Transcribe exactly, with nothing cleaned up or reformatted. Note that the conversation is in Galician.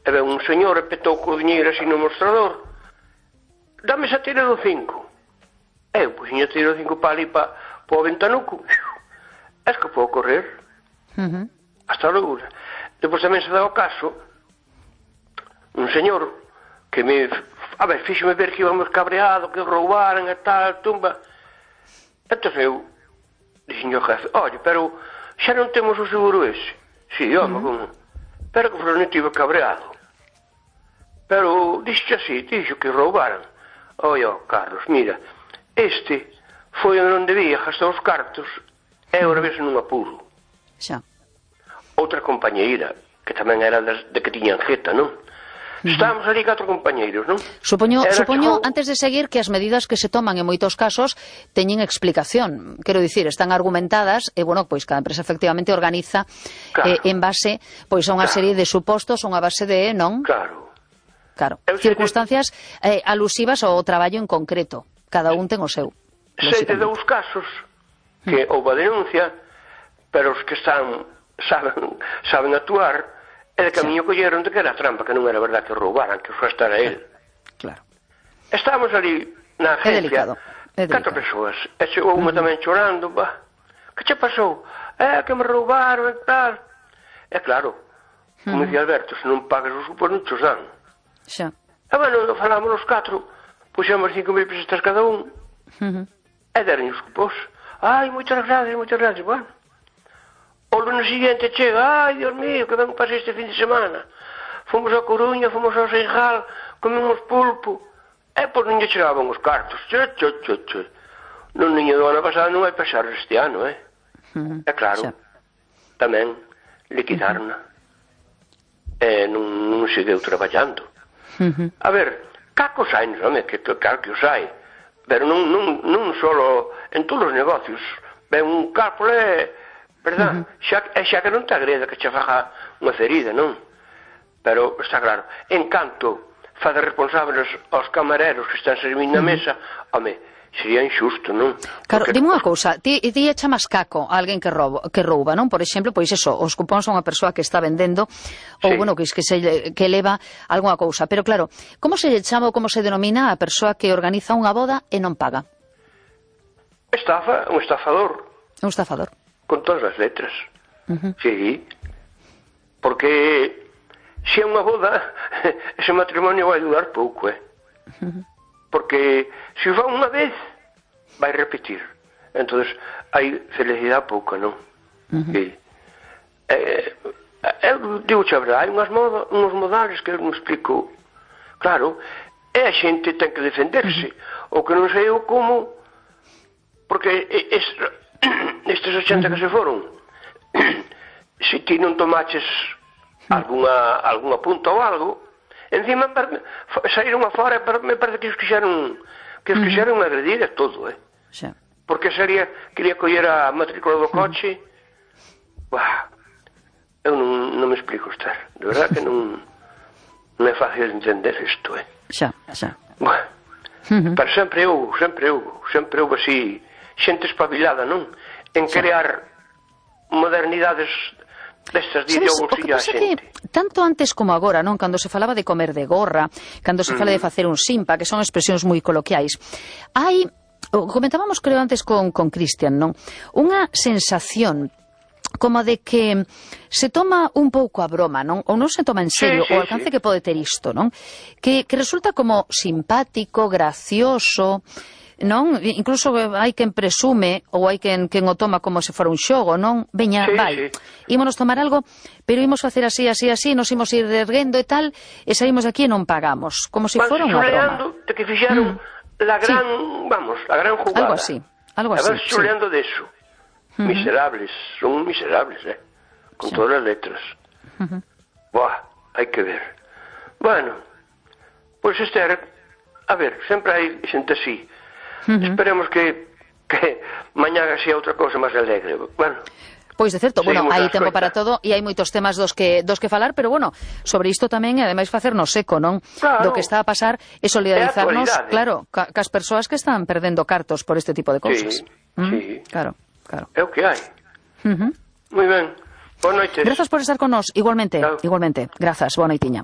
e ven un señor e petou co diñeiro así no mostrador. Dame esa tira do cinco. Eu, pois, a tira do cinco para ali, para o ventanuco. Es que podo correr. Uh-huh. Hasta logo. Depois tamén se dá o caso un señor que me, a ver, fíxome ver que íbamos cabreado, que roubaran e tal, tumba. Entón eu dixen ao jefe, olha, pero xa non temos o seguro ese. Si, home, uh-huh. como? Pero que non estive cabreado. Pero dixo así, dixo que roubaran. Oia, Carlos, mira, este foi onde debía gastar os cartos e agora vese nun apuro. Xa. Outra compañeira, que tamén era das, de que tiñan jeta, non? Estábamos ali catro compañeiros, non? Supoño, supoño que... antes de seguir, que as medidas que se toman en moitos casos teñen explicación. Quero dicir, están argumentadas e, bueno, pois cada empresa efectivamente organiza claro. eh, en base pois a unha claro. serie de supostos, unha base de, non? Claro. Claro. Circunstancias eh, alusivas ao traballo en concreto. Cada un ten o seu. Sei de dous casos que mm. houve a denuncia, pero os que están saben, saben actuar, e de camiño sí. colleron de que era trampa, que non era verdad que roubaran, que foi estar a él. Claro. Estábamos ali na agencia, é delicado. É delicado. catro persoas, e chegou unha mm. tamén chorando, bah, que che pasou? É que me roubaron e tal. E claro, como mm. dicía Alberto, se non pagas os supos non chos dan. Xa. E bueno, falamos os catro, puxemos cinco mil pesetas cada un, mm-hmm. e deron os cupos. Ai, moitas gracias, moitas gracias, bueno. O lunes siguiente chega, ai, Dios mío, que ben pasei este fin de semana. Fomos a Coruña, fomos ao Seixal, comemos pulpo, e pois non lle chegaban os cartos. Che, che, che, che. Non niño do ano pasado non hai pasar este ano, eh? Uh-huh. É claro, xa. Tamén liquidarna. Uh-huh. E non, non segueu traballando. Uh-huh. A ver, cacos hai, non é? Que claro que os hai. Pero non, non, non solo en todos os negocios. Ben un cálculo é... verdad? Uh-huh. Xa, e xa que non te agreda que che faja unha ferida, non? Pero está claro, en canto fa de responsables aos camareros que están servindo na mesa, home, sería injusto, non? Claro, porque... dime unha cousa, ti, ti chamas caco a alguén que rouba, que rouba, non? Por exemplo, pois eso, os cupóns a unha persoa que está vendendo ou, sí. bueno, que, que, se, que leva algunha cousa. Pero claro, como se lle chama ou como se denomina a persoa que organiza unha boda e non paga? Estafa, un estafador. Un estafador. Con todas as letras. Uh-huh. Sí. Porque se é unha boda, ese matrimonio vai durar pouco, eh? Uh-huh. Porque se o fa unha vez, vai repetir. Entonces, hai felicidade pouca, non? Uh-huh. Sí. Eh, eu digo a verdade, hai unhas moda, uns modales que eu non explico. Claro, e a xente ten que defenderse. Uh-huh. O que non sei eu como, porque es, estes ochenta uh-huh. que se foron, se ti non tomaches alguna, alguna punta ou algo, encima saíron afora, me parece que os quixeron que os quixeron uh-huh. agredir a todo, eh? Sí. Porque sería, quería coller a matrícula do coche. Uh-huh. Buah, eu non, non me explico, Esther, de verdad que non, non é fácil entender isto, eh? Xa, xa. Buah, uh-huh. Pero sempre houve, sempre houve, sempre houve así xente espabilada, non? En crear modernidades destas de ideoloxía a xente. Que, tanto antes como agora, non? Cando se falaba de comer de gorra, cando se fala mm. de facer un simpa, que son expresións moi coloquiais, hai, comentábamos creo antes con, con Cristian, non? Unha sensación como de que se toma un pouco a broma, non? Ou non se toma en serio sí, sí, o alcance sí. que pode ter isto, non? Que, que resulta como simpático, gracioso, non? Incluso hai quen presume ou hai quen, quen o toma como se fora un xogo, non? Veña, sí, vai, sí. ímonos tomar algo, pero ímos facer así, así, así, nos imos ir erguendo e tal, e saímos aquí e non pagamos, como se fora unha broma. De que fixeron mm. la gran, sí. vamos, la gran jugada. Algo así, algo así. A ver, xuleando sí. de eso. Uh-huh. Miserables, son miserables, eh? Con sí. todas as letras. Uh-huh. Buah, hai que ver. Bueno, pois pues este era, a ver, sempre hai xente así. Uh-huh. Esperemos que, que mañá sea outra cousa máis alegre. Bueno, pois de certo, bueno, hai tempo para todo e hai moitos temas dos que dos que falar, pero bueno, sobre isto tamén e ademais facernos eco, non? Claro. Do que está a pasar e solidarizarnos, claro, ca, cas persoas que están perdendo cartos por este tipo de cousas. Sí, ¿Mm? sí. Claro, claro. É o que hai. Uh-huh. Moi ben. Boa noite. Grazas por estar con nós, igualmente, claro. igualmente. Grazas, boa noitiña.